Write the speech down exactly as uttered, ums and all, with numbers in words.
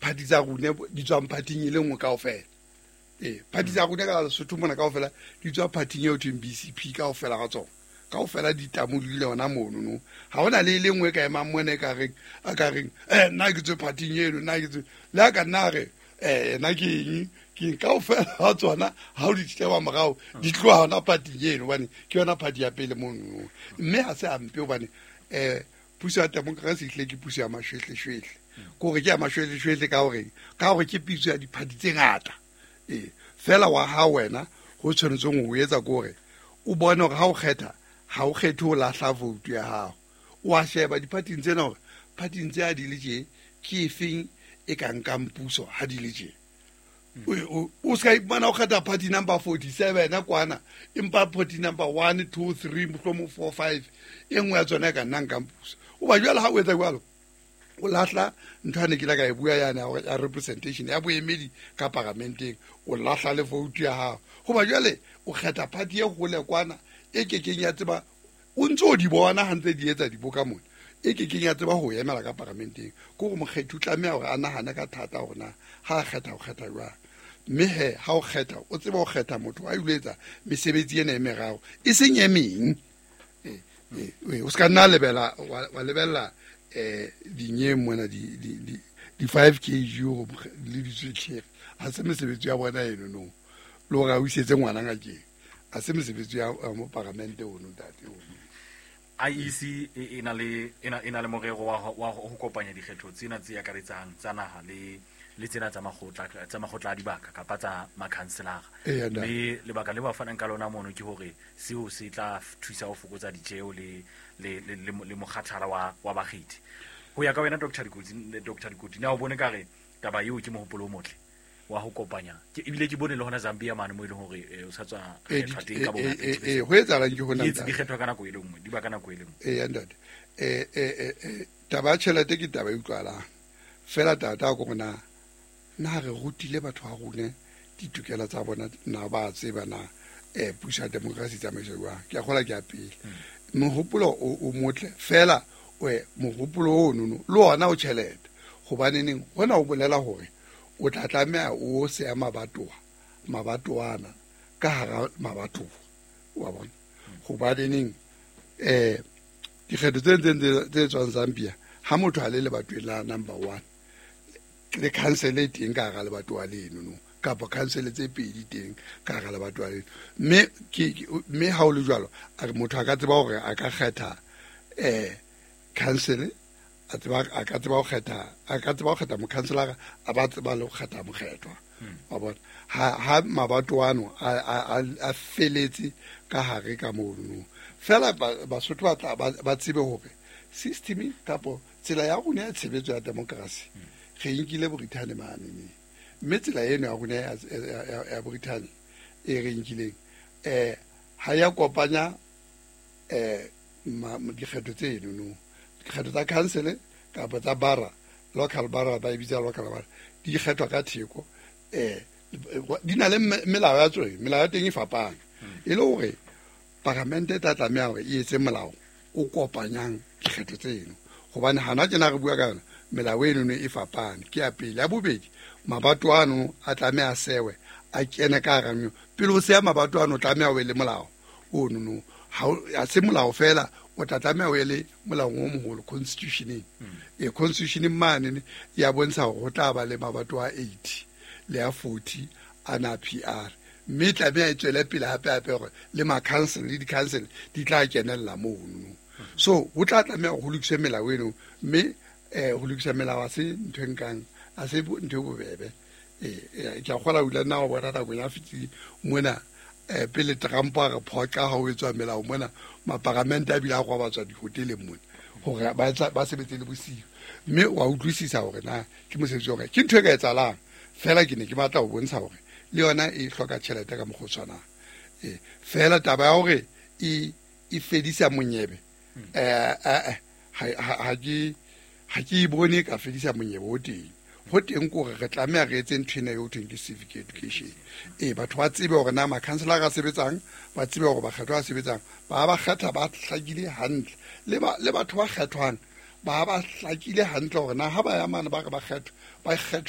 Party tsa rona di tswang party-ing e le nngwe kaofela. Ee, party tsa rona ka Lesotho mona kaofela di tswa party-ing eo thweng B C P kaofela ga tsona, kaofela di tamolile hona mono no. Ha hona le e le nngwe e ka emang mona e ka reng a ka reng eh nna ke tswe party-ing eno, nna ke tswe le a ka nna re eh nna ke eng ke eng. Kaofela ga tsona ha o di sheba morao di tloha hona party-ing eno, hobane ke yona party ya pele mono no. Mme ha se hampe hobane eh puso ya democracy ehlile ke puso ya mashwehleshwehle, ke hore ke ya mashwehleshwehle ka horeng, ka hore ke puso ya di-party tse ngata. Ee, fela wa ha wena ho tshwanetseng ho etsa ke hore o bone hore ha o kgetha, ha o kgethe ho lahla vote ya hao. O a sheba di-party-ing tsena hore party-ing tse ha di le tje ke efeng e ka nkang puso ha di le tje. O o ska iphumana o kgetha party number forty-seven kwana, empa party number one, two, three, mohlomong four, five, e nngwe ya tsona e ka nna nkang puso. O ba jwale ha o etsa jwalo, o lahla ntho ane ke la ka e bua yane ya representation, ya boemedi ka paramenteng. O lahla le vote ya hao hoba jwale o kgetha party e hole kwana e kekeng ya tseba, o ntse o di bona ha ntse di etsa diboka mona, e kekeng ya tseba ho emela ka paramenteng. Ke hore mokgethi o tlameha hore a nahane ka thata hore na ha a kgetha, o kgetha jwang. Mme he ha o kgetha, o tseba ho kgetha motho a ilo etsa mesebetsi ena e meraro, e seng e meng. O se ka nna lebela wa lebella um dinyeng mona di-five k g le ditswetlhere, ha se mesebetsi ya bona eno no. Le hore a o isetse ngwana ngakeng, ha se mesebetsi ya moparamente ono, ntate ono. I E C e na le e na le morero wa wa ho kopanya dikgetho tsena tse akaretsang tsa naha le le tsena tsa makgotla tsa makgotla a dibaka kapa tsa makhanselara. Mme lebaka le ba fanang ka lona mono ke hore seo se tla thusa ho fokotsa ditjeo le le le le mokgathala wa wa bakgethi. Ho ya ka wena, Doctor Dikotsi, Doctor Dikoti, na o bone ka re taba eo ke mohopolo o motle wa ho kopanya? Ke ebile ke bone le hona Zambia mane mo e leng hore o sa tswa kgethwa teng ka bongata. Eh, ho etsahalang ke hona. Di kgethwa ka nako e le nngwe, di ba ka nako e le nngwe. Ee, ntate, eh eh eh taba ya tjhelete ke taba e utlwahalang fela. Tata ko rona na re rutile batho ba rona ditokelo tsa bona? Na ba tseba na eh puso ya democracy tsamaiso jwang? Ke a kgola ke ya pele. Mohopolo o motle fela, mohopolo ono no le ona o tjhelete, hobaneneng hona o bolela hore o tla tlameha o seya mabatowa mabatowana ka hara mabatowa wa bona, hobaneneng eh dikgetho tse ntseng tse tswang Zambia, ha motho a le lebatoweng la number one, le council e teng ka hara lebatowa leno no, kapa council tse pedi teng ka hara lebatowa leno. Mme ke mme ha o le jwalo, a re motho a ka tseba hore a ka kgetha eh council, a tseba a ka tseba ho kgetha a ka tseba ho kgetha mokhanselara, a ba tseba le ho kgetha mokgethwa wa bona. Ha ha mabato ano a a a feletse ka hare ka mono fela, Basotho ba tla ba tsebe hore system kapo tsela ya rona ya tshebetso ya democracy re nkile Brithani mane ne. Mme tsela eno ya rona ya Brithani e re nkileng eh ha ya kopanya eh dikgetho tseno no, dikgetho tsa council kapa tsa bara, local bara ba e bitsa local bara, di kgethwa ka theko. eh di na le melao ya tsone, melao ya teng e fapane. E le hore paramente e tla tlameha hore e etse molao o kopanyang dikgetho tseno, hobane hana tjena re bua ka yona, melao eno e fapane. Ke ya pele. Ya bobedi, mabato ano a tlameha sewe a kene ka hara. Pele o seya mabato ano, o tlameha o be le molao ono no. Ha se molao fela, o tla tlameha o ye le molaong o moholo, constitutioneng. E constitutioneng mane ya bontsha hore ho tla ba le mabato a eighty le a forty ana P R, mme tlameha e tswele pele hape hape hore le ma-council le di-council di tla kenella mono. So ho tla tlameha hore ho lokiswe melao eno. Mme um ho lokisa melao ha se ntho e nkang, ha se ntho e bobebe. Ee, ke a kgola o ile nna wa bona nakong ya fetileng mona um pele Trump a re phoqa ha o etswa melao mona, maparamente a bile a robatswa dihoteleng mona hore ba sebetse le bosiu. Mme wa utlwisisa hore na ke mosebetsi hore ke ntho e ka etsahalang fela. Ke ne ke batla ho bontsha hore le yona e hloka tjhelete ka mokgwa o tshwanang. Ee, fela taba ya hore e e fedisa monyebe, eh ha ke ha ke e bone ka fedisa monyebe o teng. Ho teng kore re tlameha re etse ntho ena eo thweng ke civic education. Ee, batho ba tsebe hore na makhanselara a sebetsang, ba tsebe hore bakgethwa ba sebetsang ba ba kgetha ba hlakile hantle, le ba le batho ba kgethwang ba ba hlakile hantle hore na ha ba ya mane ba re ba kgethwa ba kgethwa.